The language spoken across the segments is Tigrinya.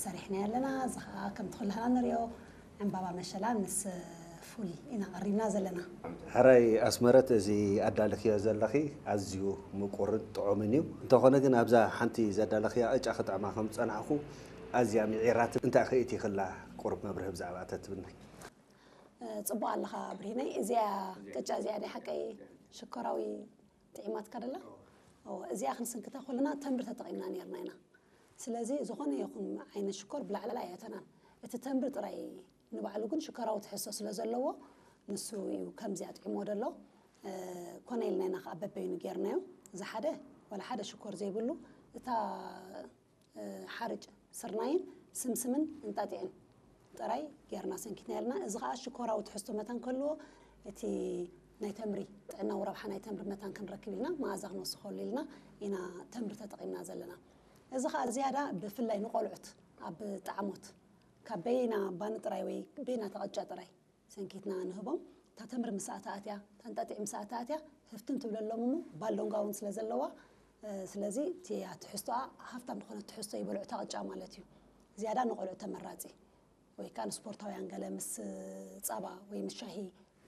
ሰሪሕና ኣለና። እዚ ከዓ ከምቲ ኩላህና ንሪኦ ዕምባባ መሸላ ምስ ፉል ኢና ቀሪብና ዘለና። ሕራይ ኣስመረት፣ እዚ ኣዳልክዮ ዘለኺ ኣዝዩ ምቁርን ጥዑምን እዩ። እንተኾነ ግን ኣብዛ ሓንቲ ዘዳለኽያ ቅጫ ክጥዕማ ከም ዝጸናሕኩ ኣዝያ ምዒራት፣ እንታይ ክእቲ ክላ ቁሩብ መብርሂ ብዛዕባ ተትብኒ። ጽቡቕ ኣለኻ ብርሂነይ። እዚኣ ቅጫ እዚኣ ናይ ሓቀይ ሽኮራዊ ጥዒማትካ ደላ? እዚኣ ክንስንክታ ኩልና ተምሪ ተጠቒምና ነርና ኢና። ስለዚ ዝኾነ ይኹን ዓይነት ሽኮር ብላዕላ ኣየተናን። እቲ ተምሪ ጥራይ ንባዕሉ ግን ሽኮራዊ ትሕዝቶ ስለ ዘለዎ ንሱ እዩ ከምዚ ኣጥዒሞ ደሎ። ኮነ ኢልና ኢና ከዓ በበይኑ ጌርናዮ። እዚ ሓደ ዋላ ሓደ ሽኮር ዘይብሉ እታ ሓርጭ ስርናይን ስምስምን እንጣጢዕን ጥራይ ጌርና ሰንኪትና ያልና። እዚ ከዓ ሽኮራዊ ትሕዝቶ መታን ከልዎ እቲ ናይ ተምሪ ጥዕናዊ ረብሓ ናይ ተምሪ መታን ክንረክብ ኢልና መኣዛ ክንወስኸሉ ኢልና ኢና ተምሪ ተጠቒምና ዘለና። እዚ ከዓ ዝያዳ ብፍላይ ንቆልዑት ኣብ ጣዕሞት ካብ በይና ባኒ ጥራይ ወይ በይና ተቐጫ ጥራይ ሰንኪትና ንህቦም። እታ ተምሪ ምስ ኣተኣትያ፣ እታ እንጣጢዕ ምስ ኣተኣትያ ህፍትም ትብለሎም እሞ ባሎንጋ እውን ስለ ዘለዋ፣ ስለዚ እቲ ትሕዝቶኣ ሃፍታም ዝኾነ ትሕዝቶ ይበልዑ እታ ቅጫ ማለት እዩ። ዝያዳ ንቆልዑ ተመራፂ ወይ ከዓ ንስፖርታውያን ገለ ምስ ፃባ ወይ ምስ ሻሂ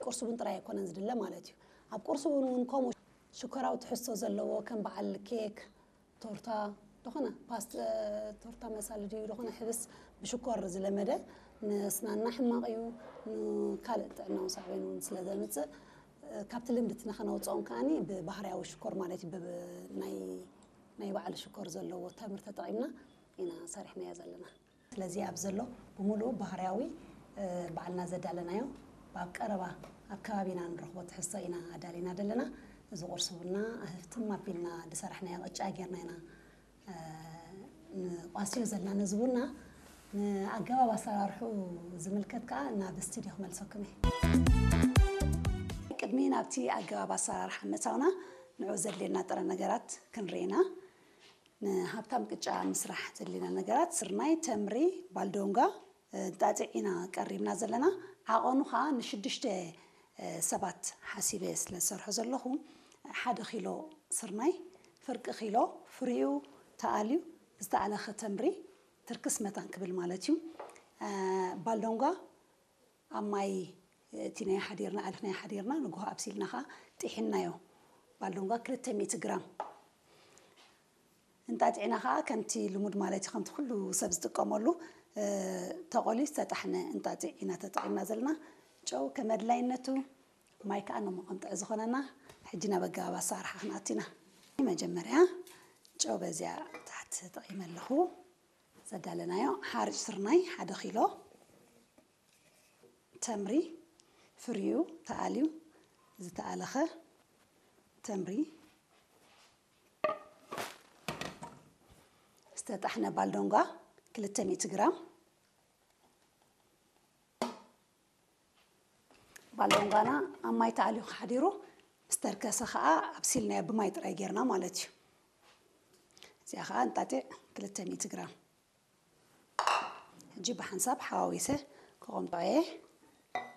ቁርሲ እውን ጥራይ ኣይኮነን ዝድለ ማለት እዩ። ኣብ ቁርሲ እውን እውን ከምኡ ሽኮራዊ ትሕዝቶ ዘለዎ ከም በዓል ኬክ፣ ቶርታ፣ ዝኾነ ፓስት ቶርታ መሳሊ ድዩ ዝኾነ ሕብስ ብሽኮር ዝለመደ ንስናና ሕማቕ እዩ። ንካልእ ጥዕናዊ ሳዕቤን እውን ስለ ዘምፅእ ካብቲ ልምድትና ከነውፅኦም ከዓኒ ብባህርያዊ ሽኮር ማለት እዩ ናይ ባዕሉ ሽኮር ዘለዎ ተምር ተጠቒምና ኢና ሰሪሕናዮ ዘለና። ስለዚ ኣብ ዘሎ ብምሉኡ ባህርያዊ ባዕልና ዘዳለናዮ ኣብ ቀረባ ኣብ ከባቢና ንረኽቦ ትሕዝቶ ኢና ኣዳሊና ዘለና። እዚ ቁርሲ ቡና ህፍትም ኣቢልና ዝሰራሕናዮ ቅጫ ጌርና ኢና ንቋስዮ ዘለና። ነዚ ቡና ንኣገባብ ኣሰራርሑ ዝምልከት ከዓ ናብ ስቱዲዮ ክመልሰኩም እየ። ቅድሚ ናብቲ ኣገባብ ኣሰራርሓ ምእታውና ንዑ ዘድልየና ጥረ ነገራት ክንርኢና። ንሃብታም ቅጫ ምስራሕ ዘድልየና ነገራት ስርናይ፣ ተምሪ፣ ባልዶንጋ፣ እንጣጢዕ ኢና ቀሪብና ዘለና። ዓቐኑ ከዓ ንሽዱሽተ ሰባት ሓሲበ ስለ ዝሰርሖ ዘለኹ ሓደ ኪሎ ስርናይ፣ ፍርቂ ኪሎ ፍሪኡ ተኣልዩ ዝተኣለኸ ተምሪ ትርክስ መታን ክብል ማለት እዩ። ባልዶንጋ ኣብ ማይ እቲ ናይ ሓዲርና ኣልኽናዮ ሓዲርና ንግሆ ኣብሲልና ከዓ ጢሒናዮ። ባልዶንጋ ክልተ ሚእቲ ግራም። እንጣጢዕና ከዓ ከምቲ ልሙድ ማለት እዩ ከምቲ ኩሉ ሰብ ዝጥቀመሉ ተቆልዩ ዝተጣሕነ እንጣጢዕ ኢና ተጠቂምና ዘለና። ጨው ከመድላይነቱ ማይ ከዓ ነመቆምጠዐ ዝኾነና። ሕጂ ናብ ኣገባብ ኣሰራርሓ ክንኣቱ ኢና። መጀመርያ ጨው በዚያ ታሕቲ ተጠቂመ ኣለኹ። ዘዳለናዮ ሓርጭ ስርናይ ሓደ ኪሎ፣ ተምሪ ፍሪኡ ተኣልዩ ዝተኣለኸ ተምሪ፣ ዝተጣሕነ ባልዶንጋ ክልተ ሚእቲ ግራም። ባልዶንጋና ኣብ ማይ ተኣልዩ ሓዲሩ ምስ ተርከሰ ከዓ ኣብሲልናዮ ብማይ ጥራይ ጌርና ማለት እዩ። እዚኣ ከዓ እንጣጢዕ ክልተ ሚእቲ ግራም። ሕጂ ብሓንሳብ ሓዋዊሰ ከቐምጦ እየ።